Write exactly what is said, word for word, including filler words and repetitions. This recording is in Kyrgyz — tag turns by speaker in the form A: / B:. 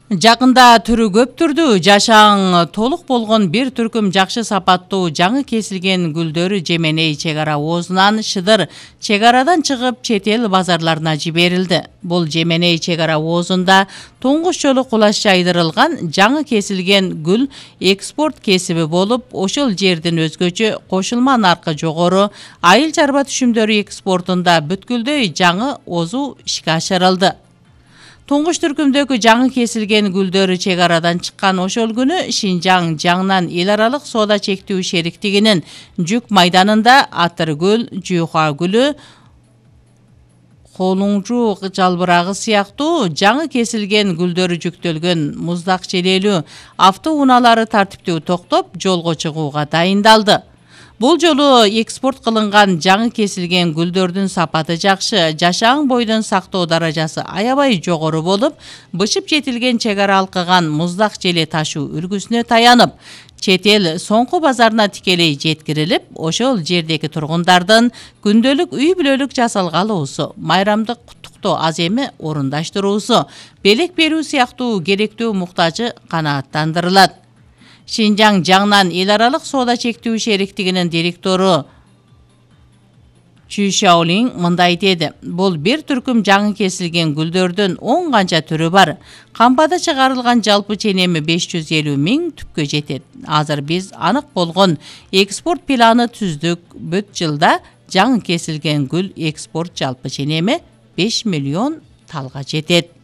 A: Жакында түрү көп түрдүү, жашаң толук болгон бир түркүм жакшы сапаттуу жаңы кесилген гүлдөр Жеменей чек ара оозунан Шыдыр чек арадан чыгып чет эл базарларына жиберилди. Бул Жеменей чек ара оозунда туңгуч жолу кулаш жайдырылган жаңы кесилген гүл экспорт кесиби болуп, ошол жердин өзгөчө кошулма наркы жогору айыл чарба түшүмдөрү экспортунда бүткүлдөй жаңы оозу ишке ашырылды. Туңгуч түркүмдөгү жаңы кесилген гүлдөр чек арадан чыккан ошол күнү Шинжаң Жаңнан эл аралык соода чектүү шериктигинин жүк майданында Атыргүл, Жуйха гүлү, Холуңжу жалбырагы сыяктуу жаңы кесилген гүлдөрү жүктөлгөн муздак желелүү автоунаалары тартиптүү токтоп, жолго чыгууга дайындалды. Бул жолу экспорт кылынган жаңы кесилген гүлдөрдүн сапаты жакшы, жашаң бойдон сактоо даражасы аябай жогору болуп, бышып жетилген чек ара алкыган муздак желе ташуу үлгүсүнө таянып, чет эл соңку базарына тикелей жеткирилип, ошол жердеги тургундардын күндөлүк үй бүлөлүк жасалгалуусу, майрамдык куттуктоо аз эми орундаштыруусу, белек берүү сыяктуу керектүү муктажы канааттандырылат. Шинжаң Жаңнан эл аралык соода чектүү шериктигинин директору Чүй Шаолиң мындай деди: бул бир түркүм жаңы кесилген гүлдөрдүн он канча түрү бар. Кампада чыгарылган жалпы ченеми беш жүз элүү миң түпкө жетет. Азыр биз анык болгон экспорт планы түздүк. Бүт жылда жаңы кесилген гүл экспорт жалпы ченеми беш миллион талга жетет.